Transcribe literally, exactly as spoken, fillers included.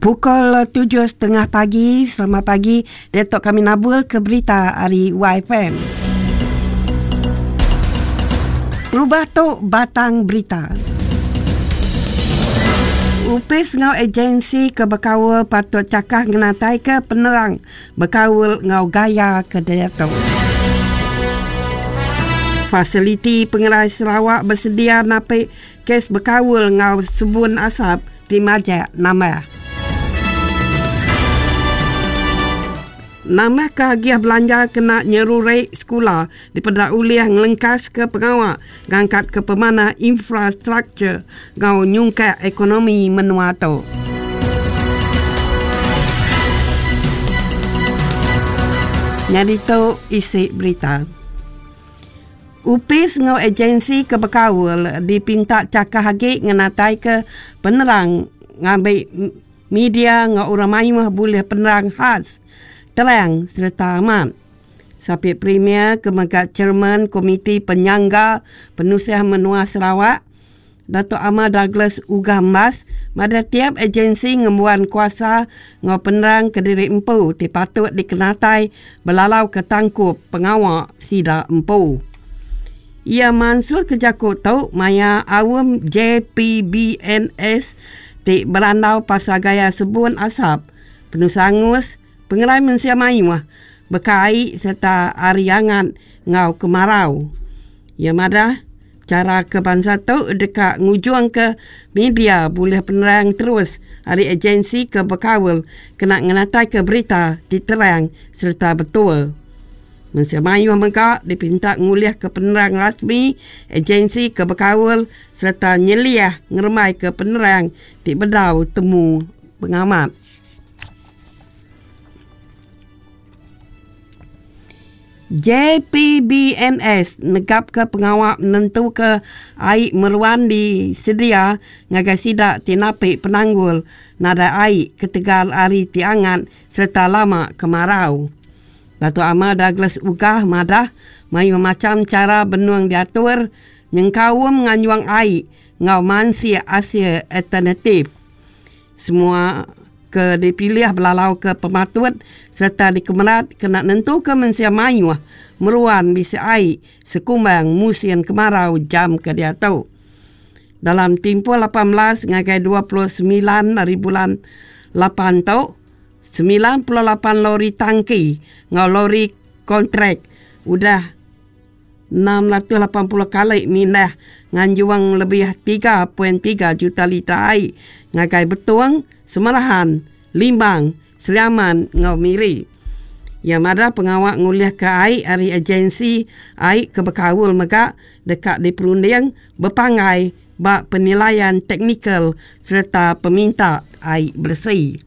Pukul tujuh setengah pagi, selamat pagi. Datuk kami nabul ke berita hari Y F M. Rubah tu batang berita. Upis ngau agensi ke berkawal patut cakah ngenatai ke penerang berkawal ngau gaya ke datuk. Fasiliti Pengerai Sarawak bersedia napik kes berkawal ngau sebun asap di majak nambah. Nama kehagiah belanja kena nyerurek sekolah dipedak uliah ngelengkas ke pengawak ngangkat ke pemana infrastruktur ngau nyungkak ekonomi menua tu. Nyadi tu isi berita. Upis ngau agensi ke berkawal dipinta cakah agi ngenatai ke penerang ngambil media ngau orang mayuh boleh penerang khas terang serta amat. Sapit Premier kemegat Chairman Komiti Penyangga Penusiah Menua Sarawak Datuk Amar Douglas Uggah Embas pada tiap agensi ngembuan kuasa ngau penerang ke diri empu ti patut dikenatai belalau ke tangkup pengawak sida empu. Ia mansur ke jakut tu maya awam J P B N S ti berandau pasal gaya sebun asap penusangus pengerai mensia mayuh berkai serta ariangan ngau kemarau. Ya madah cara ke bangsa tu dekat ngujung ke media boleh penerang terus hari agensi ke berkawal kena ngenatai ke berita diterang serta betul. Mensia mayuh mengkak dipinta nguliah ke penerang rasmi agensi ke berkawal serta nyeliah ngeremai ke penerang ti bedau temu pengamat. J P B N S negap ke pengawak menentu ke air meruan di sedia ngagai sidak tinapi penanggul nada air ketegal ari tiangan serta lama kemarau. Datuk Amar Douglas Uggah madah mayu macam cara benuang diatur nyengkawum nganyuang air ngau mansia asia alternatif. Semua ke dipilih belalau ke pematut serta dikemerat kena nentu ke mensia mayuh meruan bisa air sekumbang musim kemarau jam ke diatu. Dalam tempoh lapan belas ngagai dua puluh sembilan hari bulan lapan tu sembilan puluh lapan lori tangki ngau lori kontrak udah enam ratus lapan puluh kali mindah nganjuang lebih tiga perpuluhan tiga juta liter air ngagai Betuang, Semarahan, Limbang, Seliaman ngau Miri. Yang ada pengawak nguliah ke air hari agensi air ke berkawal megak dekat di perunding berpangai bak penilaian teknikal serta peminta air bersih.